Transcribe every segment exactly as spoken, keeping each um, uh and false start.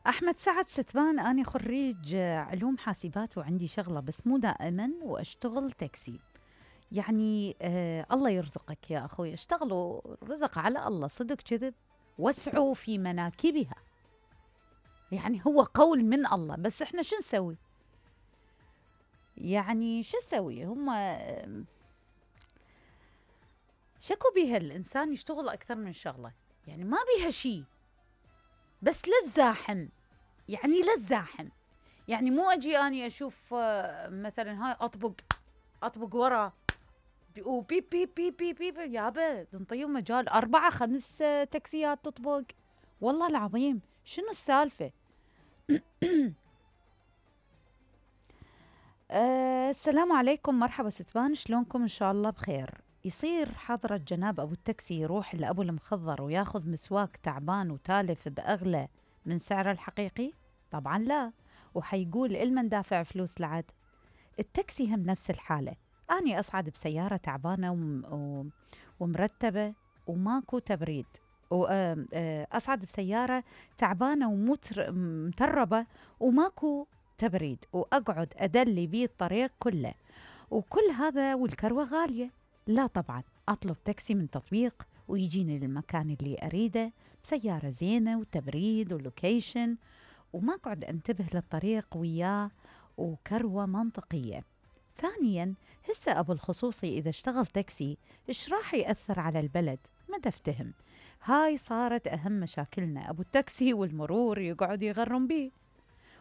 أحمد سعد ستبان، أنا خريج علوم حاسبات وعندي شغلة بس مو دائما وأشتغل تاكسي. يعني آه الله يرزقك يا أخوي، اشتغلوا رزق على الله، صدق كذب، واسعوا في مناكبها. يعني هو قول من الله، بس احنا شو نسوي؟ يعني شو نسوي؟ هم آه، شكو بيها الإنسان يشتغل أكثر من شغلة، يعني ما بيها شيء، بس للزاحم، يعني للزاحم. يعني مو اجي اني اشوف آه، مثلا هاي اطبق اطبق ورا بي- وبي بي بي بي بي, بي يابا تنطيهم مجال اربعه خمس آه، تاكسيات تطبق. والله العظيم شنو السالفه؟ أه السلام عليكم، مرحبا ستبان، شلونكم؟ ان شاء الله بخير. يصير حضرة جناب ابو التاكسي يروح لابو المخضر وياخذ مسواك تعبان وتالف باغلى من سعره الحقيقي؟ طبعا لا، وحيقول المن دافع فلوس لعد. التاكسي هم نفس الحالة. أني أصعد بسيارة تعبانة وم و ومرتبة وماكو تبريد، وأصعد بسيارة تعبانة ومتربة وماكو تبريد، وأقعد أدلي بيه الطريق كله، وكل هذا والكروة غالية. لا طبعا، أطلب تاكسي من تطبيق ويجيني للمكان اللي أريده بسيارة زينة وتبريد ولوكيشن، وما أقعد أنتبه للطريق وياه، وكروة منطقية. ثانيا، هسه أبو الخصوصي إذا اشتغل تاكسي إيش راح يأثر على البلد؟ ما تفتهم. هاي صارت أهم مشاكلنا، أبو التاكسي والمرور يقعد يغرم بيه.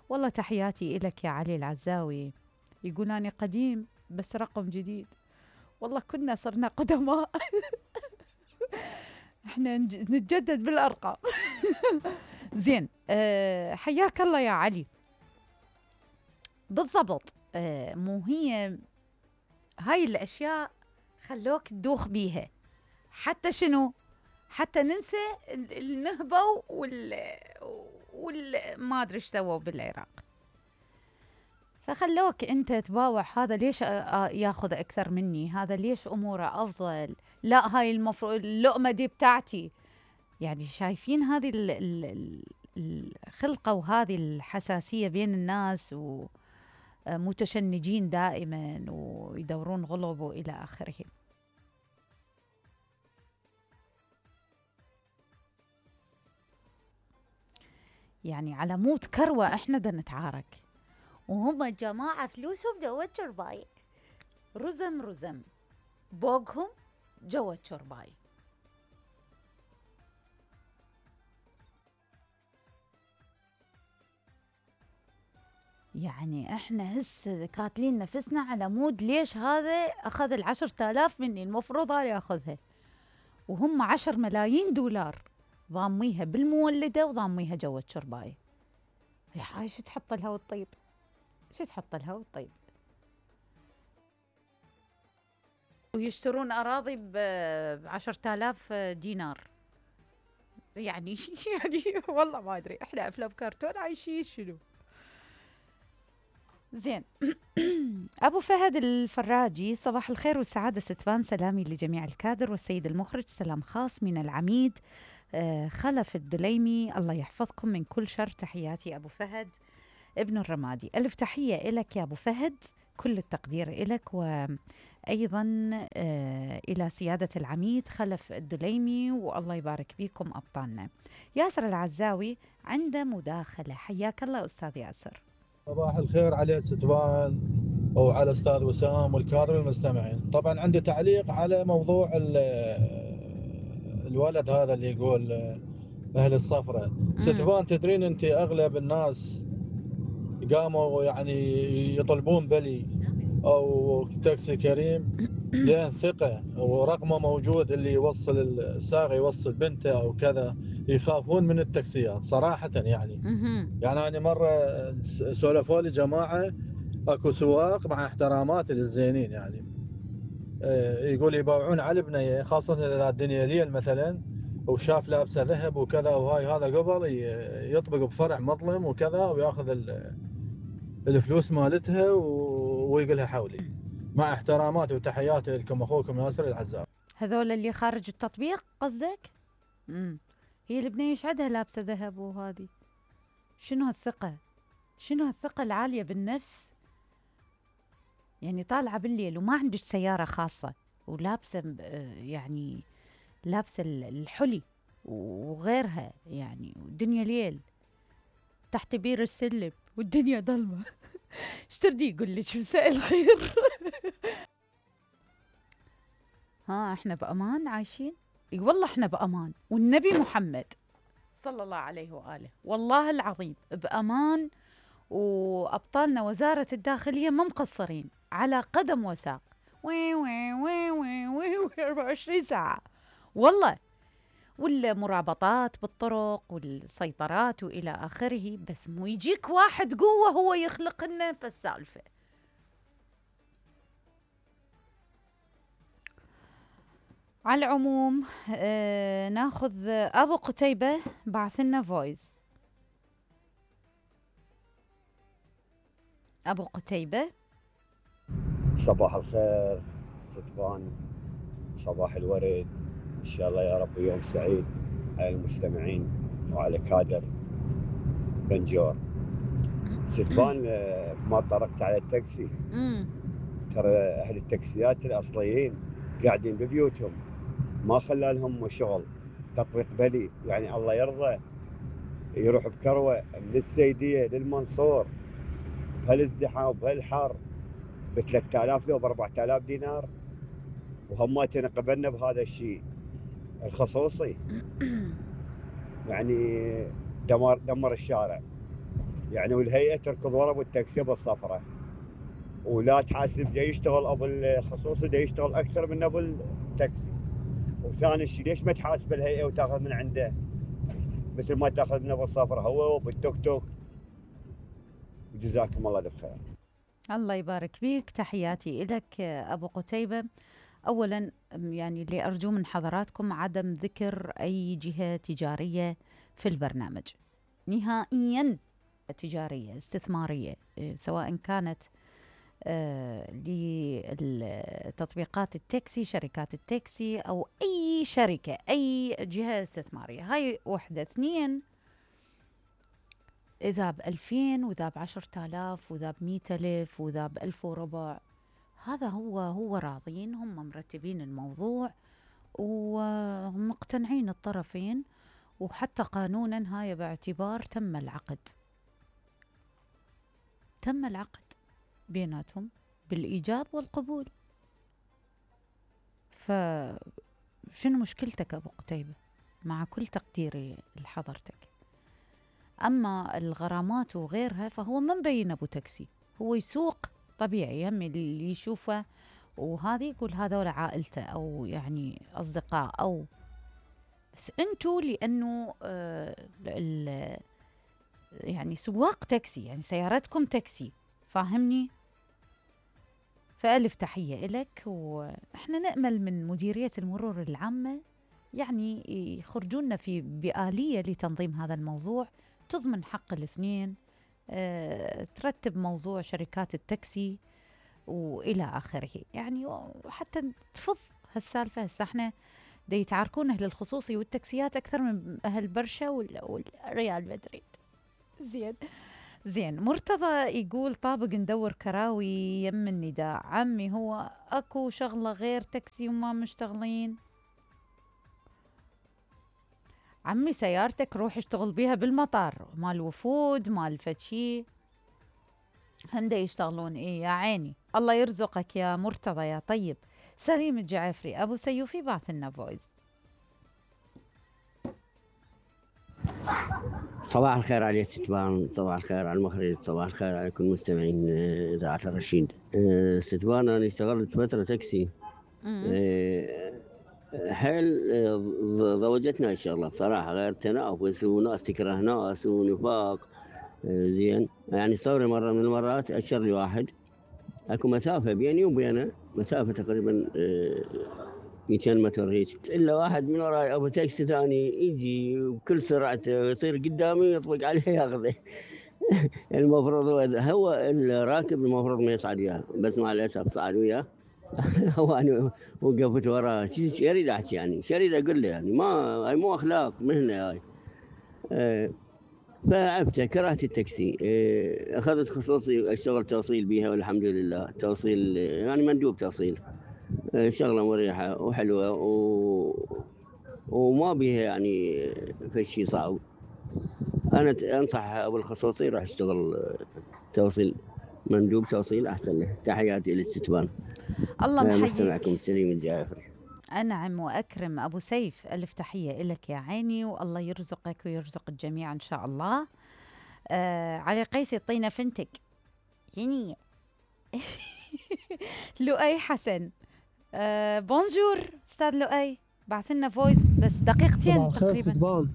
والله تحياتي إلك يا علي العزاوي، يقول أنا قديم بس رقم جديد. والله كنا صرنا قدماء. احنا نتجدد بالأرقام. زين، أه حياك الله يا علي. بالضبط. أه مو هي هاي الأشياء خلوك تدوخ بيها، حتى شنو؟ حتى ننسى النهبة وال وال ما أدري إيش سووا بالعراق، فخلوك أنت تباوع هذا ليش ياخذ أكثر مني، هذا ليش أموره أفضل، لا هاي المفروض اللقمة دي بتاعتي. يعني شايفين هذه ال ال الخلقة وهذه الحساسية بين الناس، ومتشنجين دائما ويدورون غلب وإلى آخره. يعني على موت كروة احنا دا نتعارك، وهم جماعة فلوسهم جوا الشرباي، رزم رزم بوقهم جوا الشرباي. يعني احنا هسه كاتلين نفسنا على مود ليش هذا اخذ العشرة آلاف مني، المفروض هذا ياخذها، وهم عشر ملايين دولار ضاميها بالمولدة وضاميها جوا الشرباي. يا هاي شو تحط لها والطيب، شو تحط لها والطيب. ويشترون أراضي بعشرة آلاف دينار. يعني يعني والله ما أدري، إحنا أفلام كرتون عايشين شنو. زين. أبو فهد الفراجي، صباح الخير والسعادة ستبان، سلامي لجميع الكادر والسيد المخرج، سلام خاص من العميد آه خلف الدليمي، الله يحفظكم من كل شر، تحياتي أبو فهد ابن الرمادي. ألف تحية إلك يا أبو فهد، كل التقدير إلك، وأيضا آه إلى سيادة العميد خلف الدليمي، والله يبارك بكم أبطالنا. ياسر العزاوي عنده مداخلة، حياك الله أستاذ ياسر. صباح الخير على ستبان وعلى استاذ وسام والكادر والمستمعين. طبعا عندي تعليق على موضوع الولد هذا اللي يقول اهل الصفرة. ستبان تدرين انت اغلب الناس قاموا يعني يطلبون بلي او تاكسي كريم لان ثقة ورقمه موجود، اللي يوصل الساق يوصل بنته او كذا، يخافون من التاكسيات صراحة. يعني يعني انا مرة سولفوا لي جماعة اكو سواق مع احترامات للزينين، يعني يقول يباوعون على البنية، خاصة اذا الدنيا ليل مثلا وشاف لابسه ذهب وكذا وهاي، هذا قبل يطبق بفرع مظلم وكذا وياخذ الفلوس مالتها ويقولها حولي. مع احتراماتي وتحياتي لكم اخوكم ياسر العزام. هذول اللي خارج التطبيق قصدك؟ امم هي البنية ايش عندها لابسه ذهب وهذه؟ شنو هالثقة؟ شنو هالثقة العالية بالنفس؟ يعني طالعة بالليل وما عندك سيارة خاصة ولابسة يعني لابسة الحلي وغيرها يعني، والدنيا ليل تحت بير السلم والدنيا ظلمة. ايش تردي يقول لك مساء الخير؟ ها احنا بأمان عايشين؟ اي والله احنا بأمان، والنبي محمد صلى الله عليه وآله والله العظيم بأمان، وأبطالنا وزارة الداخلية ما مقصرين على قدم وساق، وي وي وي وي وي وي أربعة وعشرين ساعة والله، والمرابطات بالطرق والسيطرات وإلى آخره، بس مو يجيك واحد قوة هو يخلق لنا فالسالفة. على العموم آه ناخذ أبو قتيبة بعث لنا فويس. أبو قتيبة. صباح الخير ستبان، صباح الورد، إن شاء الله يا رب يوم سعيد على المستمعين وعلى كادر بنجور. ستبان ما طرقت على التاكسي، ترى أهل التاكسيات الأصليين قاعدين ببيوتهم، ما خلى لهم شغل تطبيق بلي، يعني الله يرضى يروح بكروة من السيدية للمنصور بهالازدحام بهالحر ب ثلاثة آلاف لو ب أربعة آلاف دينار، وهماتنا قبلنا بهذا الشيء الخصوصي. يعني دمر دمر الشارع يعني، والهيئة تركض ورا بالتاكسي بالصفرة، ولا تحاسب دا يشتغل ابو الخصوصي دا يشتغل اكثر من ابو التاكسي. وثاني شيء ليش ما تحاسب الهيئة وتاخذ من عنده مثل ما تاخذ من ابو الصفرة هو وبالتوك توك؟ جزاكم الله الف خير. الله يبارك فيك، تحياتي لك أبو قتيبة. أولا يعني اللي أرجو من حضراتكم عدم ذكر أي جهة تجارية في البرنامج نهائيا، تجارية استثمارية، سواء كانت آه لتطبيقات التاكسي، شركات التاكسي، أو أي شركة، أي جهة استثمارية. هاي وحدة. اثنين، إذا بألفين وإذا بعشرة آلاف وإذا بمئة ألف وإذا بألف وربع، هذا هو هو راضين، هم مرتبين الموضوع ومقتنعين الطرفين، وحتى قانونا هاي باعتبار تم العقد، تم العقد بيناتهم بالإيجاب والقبول. فشنو مشكلتك أبو قتيبة؟ مع كل تقديري لحضرتك. أما الغرامات وغيرها فهو ما مبين أبو تاكسي، هو يسوق طبيعي، هم اللي يشوفه وهذا يقول هذول عائلته أو يعني أصدقاء، أو بس أنتوا لأنه آه يعني سواق تاكسي، يعني سيارتكم تاكسي، فاهمني؟ فألف تحية إلك، وإحنا نأمل من مديرية المرور العامة يعني يخرجون في بآلية لتنظيم هذا الموضوع، تضمن حق الاثنين، أه ترتب موضوع شركات التاكسي وإلى آخره، يعني حتى تفض هالسالفة. هسه احنا دا يتعاركون أهل الخصوصي والتاكسيات أكثر من أهل برشا والريال مدريد. زين زين. مرتضى يقول طابق ندور كراوي يم النداء. عمي هو أكو شغلة غير تاكسي وما مشتغلين؟ عمي سيارتك روح اشتغل بيها بالمطار، مال وفود مال فتشي هم دا يشتغلون. ايه يا عيني، الله يرزقك يا مرتضى يا طيب. سليم الجعفري. ابو سيوفي بعث لنا فويس. صباح الخير على ستبان، صباح الخير على المخرج، صباح الخير على كل مستمعين اذاعه الرشيد. أه ستبان انا اشتغلت فتره تاكسي، أه حيل ضوجتنا الشغله بصراحه، غير تنافس وناس تكره ناس ونفاق. أه زين يعني صوري مره من المرات اشر لي واحد، اكو مسافه بيني وبينه مسافه تقريبا أه مئتين متر هيك، الا واحد من وراي ابو تاكسي ثاني يجي بكل سرعته يصير قدامي يطبق عليه ياخذه. المفروض هو الراكب المفروض ما يصعد وياه، بس مع الاسف صعد وياه. وانا وقفت وراه، شو اريد احكي يعني، شو اريد اقول له يعني، ما هاي مو اخلاق مهنه هاي. أه فعبته كرهت التاكسي. إيه، اخذت خصوصي اشتغل توصيل بيها والحمد لله. توصيل يعني مندوب توصيل. إيه، شغله مريحه وحلوه و... وما بيها يعني في شيء صعب. انا انصح ابو الخصوصي يروح يشتغل توصيل، مندوب توصيل احسن له. تحياتي للستبان. الله محييك. مستمعكم سليم الجعفري. أنعم وأكرم أبو سيف، ألف تحية إلك يا عيني، والله يرزقك ويرزق الجميع إن شاء الله. آه علي قيس يعطينا فنتك يعني. لؤي حسن، آه بونجور أستاذ لؤي، بعث لنا فويس بس دقيقتين تقريبا. ستبان،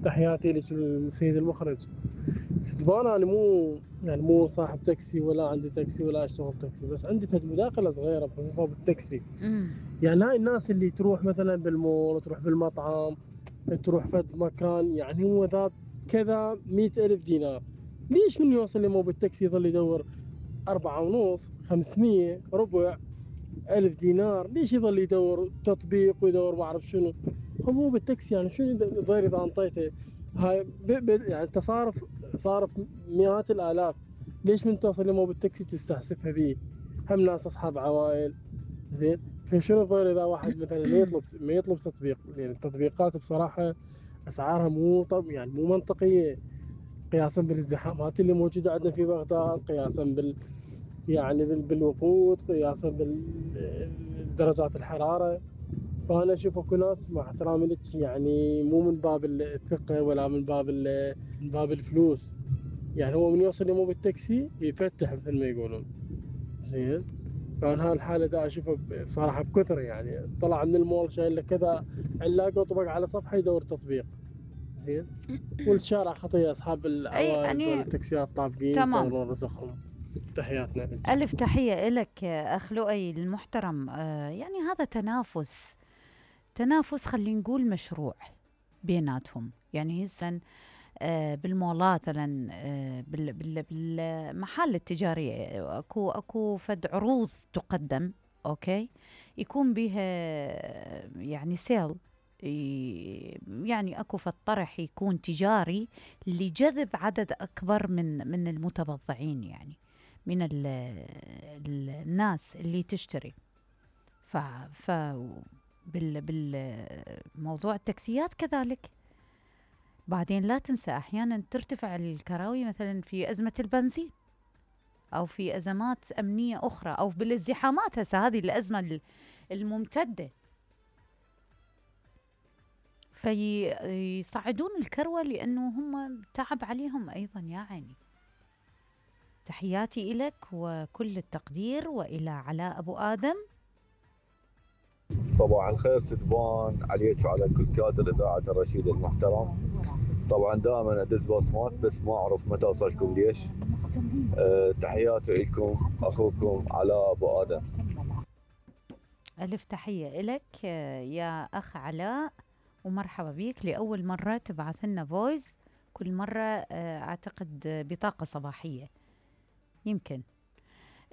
تحياتي لك السيد المخرج. ستبان أنا مو يعني مو صاحب تاكسي ولا عندي تاكسي ولا أشتغل تاكسي، بس عندي فد مداخلة صغيرة بخصوص بالتاكسي. مم. يعني هاي الناس اللي تروح مثلا بالمول، تروح بالمطعم، تروح فد مكان، يعني هو ذا كذا مئة ألف دينار، ليش من يوصل لي مو بالتاكسي يظل يدور أربعة ونص خمسمية ربع ألف دينار؟ ليش يظل يدور تطبيق ويدور ما أعرف شنو؟ هو بالتاكسي يعني شنو ضير إذا أنطيته هاي ب... ب... يعني تصارف صارف مئات الآلاف، ليش من توصل لمو بالتاكسي تستحسفها بيه؟ هم ناس أصحاب عوائل، زين؟ فشنو الضير إذا واحد مثلا ما يطلب ما يطلب تطبيق؟ يعني التطبيقات بصراحة أسعارها مو طب يعني مو منطقية قياسا بالازدحامات اللي موجودة عندنا في بغداد، قياسا بال يعني بال... بالوقود، قياسا بدرجات الحرارة. فأنا أشوف أكو ناس مع احترامي لك يعني مو من باب الثقة ولا من باب من باب الفلوس، يعني هو من يوصل مو بالتاكسي يفتح مثل ما يقولون، زين؟ فأنا هالحالة دا أشوفها بصراحة بكثر، يعني طلع من المول شايل له كذا علاقة طبق على صفحة يدور تطبيق، زين؟ والشارع خطية أصحاب العوائل يعني دول التاكسيات طابقين ينتظرون رزقهم. تحياتنا لك. ألف تحية لك أخ لؤي المحترم. آه يعني هذا تنافس، تنافس خلينا نقول مشروع بيناتهم. يعني هسه آه بالمولات مثلا، آه بال بال بالمحال التجارية اكو اكو فد عروض تقدم، اوكي، يكون بها يعني سيل، يعني اكو فد طرح يكون تجاري لجذب عدد اكبر من من المتبضعين، يعني من ال ال الناس اللي تشتري. ف ف بال بالموضوع التاكسيات كذلك. بعدين لا تنسى احيانا ترتفع الكراوي مثلا في ازمه البنزين او في ازمات امنيه اخرى او بالازدحامات. هسه هذه الازمه الممتده، فيصعدون الكروه لانه هم تعب عليهم ايضا يا عيني. تحياتي إلك وكل التقدير وإلى علاء أبو آدم. صباح الخير ستبان عليك وعلى كل كادر إذاعة الرشيد المحترم. طبعا دائما أدز بصمات بس ما أعرف متى أوصلكم ليش. أه تحياتي لكم أخوكم علاء أبو آدم. ألف تحية إلك يا أخ علاء ومرحبا بيك. لأول مرة تبعث لنا فويس، كل مرة أعتقد بطاقة صباحية يمكن.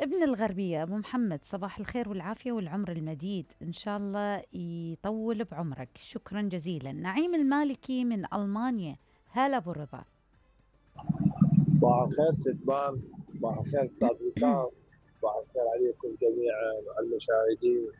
ابن الغربية أبو محمد، صباح الخير والعافية والعمر المديد، إن شاء الله يطول بعمرك. شكرا جزيلا. نعيم المالكي من ألمانيا، هلا أبو رضا. صباح الخير ستبان، صباح الخير أستاذ وسام، صباح الخير عليكم جميعا وعلى المشاهدين.